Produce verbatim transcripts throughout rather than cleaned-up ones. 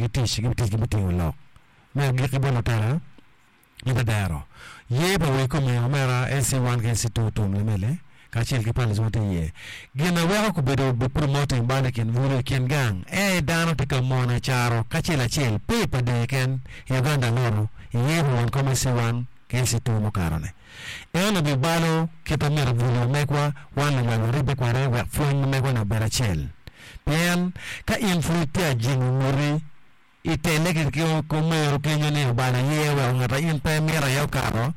ki tic gi tic gi me tingo lok me agikki bot lutela me tedero ye pa wek kome omera L C one ki L C two tum lamele kacel ki palace ma tye iye gin na weko kobedo be promoting bal i kin bulu i kin gang en aye dano tye ka mono i caro kacel acel pe i Pader keken i Uganda loro iye pa won kom L C one ki L C two mukato-ni eno bibalo kit ma myero bulu megwa wan lunywal waribbe kwede wek pwony ma megwa-ni obed acel pien ka in pud itye ajingo nguti itele ki omero kenyo ni obalo iye weko ngat a in pe imito aye okato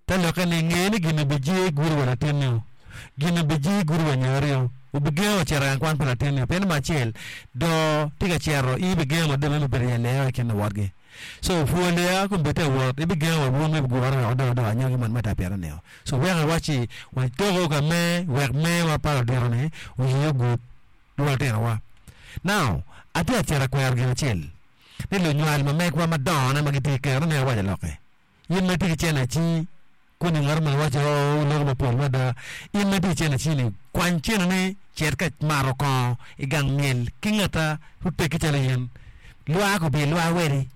te lokke ni nge ni gin obijie gudo wa latinni gin obijie gudo wa nyari obigengo wa cito i gang kwan pa latinni pien namba acel doo tye ka cito in ibigengo madong me bedo i aleya i kin luwotgi so pwo aleya kombeddi tye ka wot ibigengo wa wun me gure wek odong odong anyogi man me tapito-ni so weko iwacci watoko ka me wek mewa pa ludito-ni oye ogud wa lutinowa now atye ka cito akwero gin acel ni lunywal ma megwa madongone ma gitye ki kero ni awaco lokke in ma itye ki cene aci koni ngat mo waco oo loko mapol mada in ma itye ki cene aci-ni kwany ceneni cit ka mato kongo i gang myel ki ngata oteggi calo in lwak obyel lwak wedi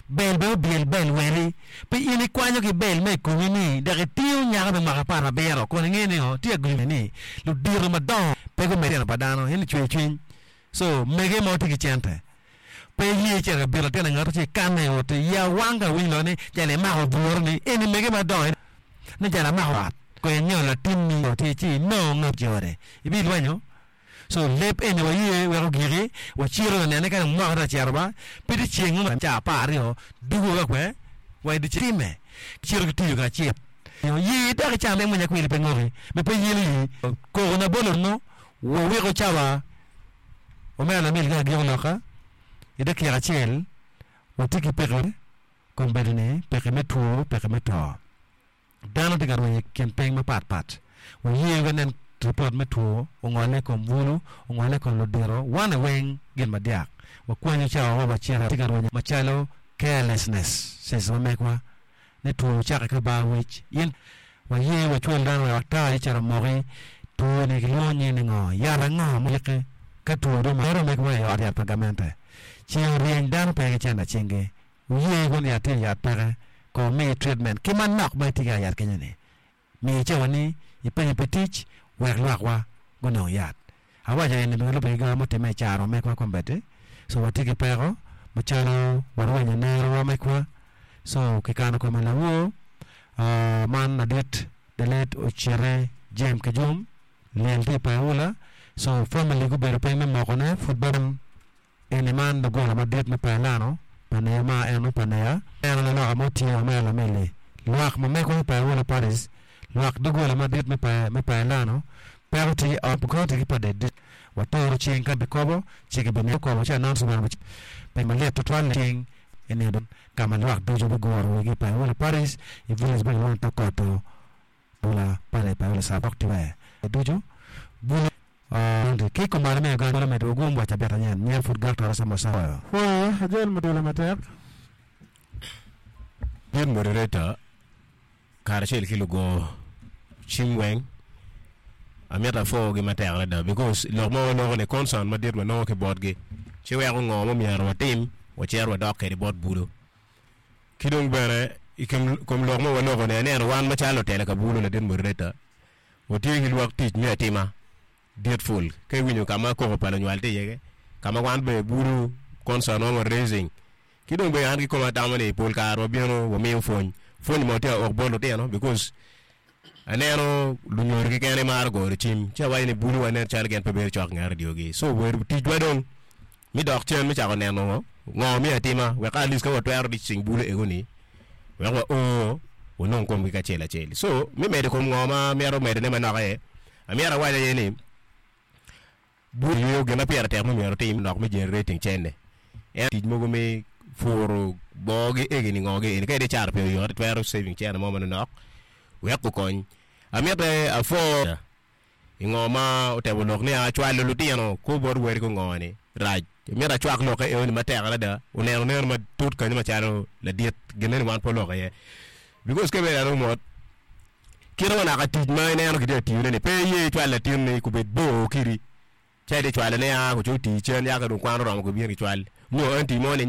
bel bene obyel bel wedi pi in ikwanyo ki bel me i komi ni dok itingo nyako me mwaka apar abiro kun inge ni tye agulu ni ludito madongo pe gumedo tino pa dano en cwer cwiny so mege ma watye ki cente pe iye cito ka bito latin angato ci ikanne i ot ya wang ka winyo lok ni jal imako buru ni eni mege madongo ni jal amako ot ko inyo latinni tye ci inongo ngat jode ibilwenyo so leb eni waye wek ogiki wacito ka nene ka mwaka tye ka cito ba pe tye ceng mo ca apar aryo dugo ka kwe wa i time cito ki tiyo kacel ye dok icam mwanya kwili pe ngoki be pe yelo yi koko na bolo no wawiko cawa omera lamil ka agiko loka i dakika acel watye ki peko kombeddi ni peko me two peko me to dano tye ka rwenyo i kin piny mapat pat waye ka nen ripot me two ongole i kom bulu ongole i kom ludito wan weng gin madyak wakwanyo cawa wa wacito tye ka rwenyo macalo carelessness ma megwa ni two ocake ka bar wic in waye wacwal dano wek ata icito moki two ni kilwongo nyinge ni ngo yat ango ma yiki ka two dong mero megwa i ot yat pa gamente ceng oryeny dano pe ki cente cingi oye kun yat tye yat peke ko miyi treatment ki manok ma itye ka yat kenyo ni miyi cawa ni ipenyo pi tic wek lwakwa gunong yat awaco eni bene lubbe ki gin mutimme i caro megwa kombeddi so watye ki peko macalo warwenyo nerowa megwa so kikano kome lawor man ladit the late Ocite James Kijum lyel tye i Paola so family gubedo piny me mokone pud bene eni man lugola madit me Paelano pa neya ma eno pa neya eno laloka mo tye omera lamili lwak ma megwa me Paola Parish lwak dogola madit me me Paelano peko tye i county ki Pader watoro ceng ka bikobo ci kibine kobo ci announcement pe malit tutwal ceng eni ka ma lwak ducu biguro wigi i Paola Parish i village ma kilwongo ni Tokoto Paola Parish Paola Sabok tye ducu bulu ki kumalo me Uganda medo ogum wa cabit anyen nyen pud gak toro samosa Pwoyo ajol mudula matek. Dit moderator karacel ki lugo cim weng amito apwogi matek adada because lok ma waloko ni concern madit wanongo ki botgi ci weko ngo ma myero watim wacito wadok kwede bot bulo ki dong bene i kom lok ma waloko ni aneno wan macalo lutela ka bulo ladit moderator watye ki lwak tic me atima dit ful ka iwinyo ka ma koko pa lunywal tye iye ka ma wan bene bulo concern ma wa raising ki dong bene an kikoma atamo ni pol kare wabino wamiyo pwony pwony mo tye aok bot lutino because aneno lunyodo keken maro goyo cim ci awaco ni bulo wa nen calo gin pe bedo cok i nget radiogi so obedo ticwa dong mi dok cen me cako neno ngo me atima wek at least ka watwero reaching bulo ego ni wek wa o wanong komgi kacel acel so mi medo i kom ngo ma mito medone manok aye amyero awac aye ni bulo gin ma pire tek ma myero otim nok me generating cene en tic mogo me puro bogi egini ngo gi eni ka idhi cato pi oyot itwero saving cene mo manonok wek okony amite apwo i ngo ma otemo lok ni acwalo lutino ko bot weri ko ngo ni rac mito acwak lokke eo ni matek adada oneno neno matut kanyo macalo ladit gin eni wan pe oloko iye because ka ibedo ano mot kite wa naka tic ma ineno kitye ka tiyone ni pe iye icwal latinni kubed bor kidi ca iti cwalo ne a kuco oti cen yaka dong kwan oromo kubino kicwal nyo anti mo ni